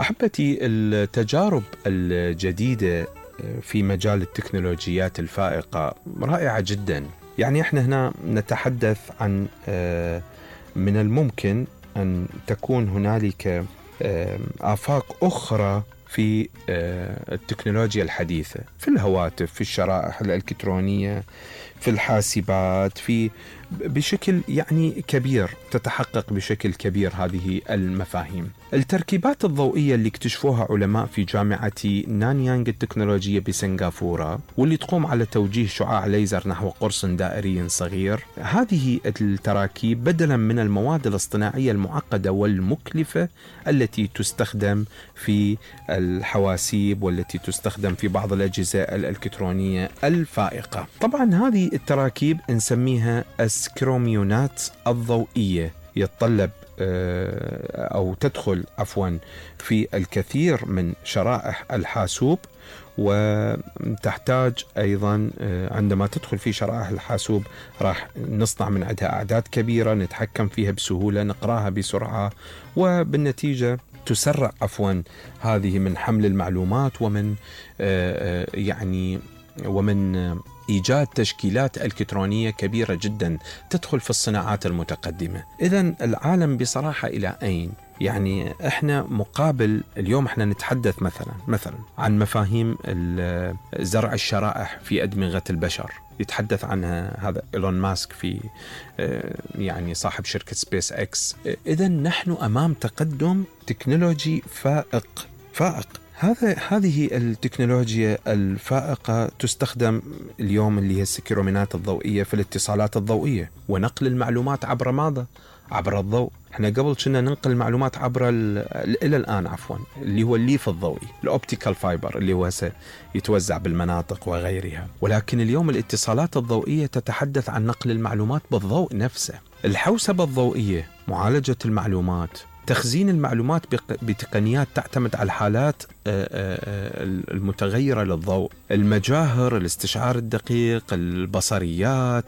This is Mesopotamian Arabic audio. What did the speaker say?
أحبتي، التجارب الجديدة في مجال التكنولوجيات الفائقة رائعة جدا. يعني احنا هنا نتحدث عن من الممكن أن تكون هنالك آفاق أخرى في التكنولوجيا الحديثة، في الهواتف، في الشرائح الإلكترونية، في الحاسبات، بشكل يعني كبير، تتحقق بشكل كبير هذه المفاهيم. التركيبات الضوئية اللي اكتشفوها علماء في جامعة نانيانغ التكنولوجية بسنغافورة، واللي تقوم على توجيه شعاع ليزر نحو قرص دائري صغير، هذه التراكيب بدلا من المواد الاصطناعية المعقدة والمكلفة التي تستخدم في الحواسيب والتي تستخدم في بعض الأجهزة الإلكترونية الفائقة. طبعا هذه التراكيب نسميها السكروميونات الضوئية، يتطلب أو تدخل في الكثير من شرائح الحاسوب، وتحتاج أيضا عندما تدخل في شرائح الحاسوب راح نصنع من عندها أعداد كبيرة نتحكم فيها بسهولة، نقراها بسرعة، وبالنتيجة تسرع هذه من حمل المعلومات ومن إيجاد تشكيلات إلكترونية كبيرة جدا تدخل في الصناعات المتقدمة. إذن العالم بصراحة إلى أين؟ يعني إحنا مقابل اليوم إحنا نتحدث مثلا عن مفاهيم زرع الشرائح في أدمغة البشر، يتحدث عنها هذا إيلون ماسك في يعني صاحب شركة سبيس إكس. إذن نحن أمام تقدم تكنولوجي فائق. هذه التكنولوجيا الفائقة تستخدم اليوم، اللي هي السكرومينات الضوئية، في الاتصالات الضوئية ونقل المعلومات عبر ماذا؟ عبر الضوء. احنا قبل كنا ننقل المعلومات عبر إلى الآن اللي هو الليف الضوئي، الأوبتيكال فايبر، اللي هو يتوزع بالمناطق وغيرها. ولكن اليوم الاتصالات الضوئية تتحدث عن نقل المعلومات بالضوء نفسه. الحوسبة الضوئية، معالجة المعلومات، تخزين المعلومات بتقنيات تعتمد على الحالات المتغيرة للضوء، المجاهر، الاستشعار الدقيق، البصريات،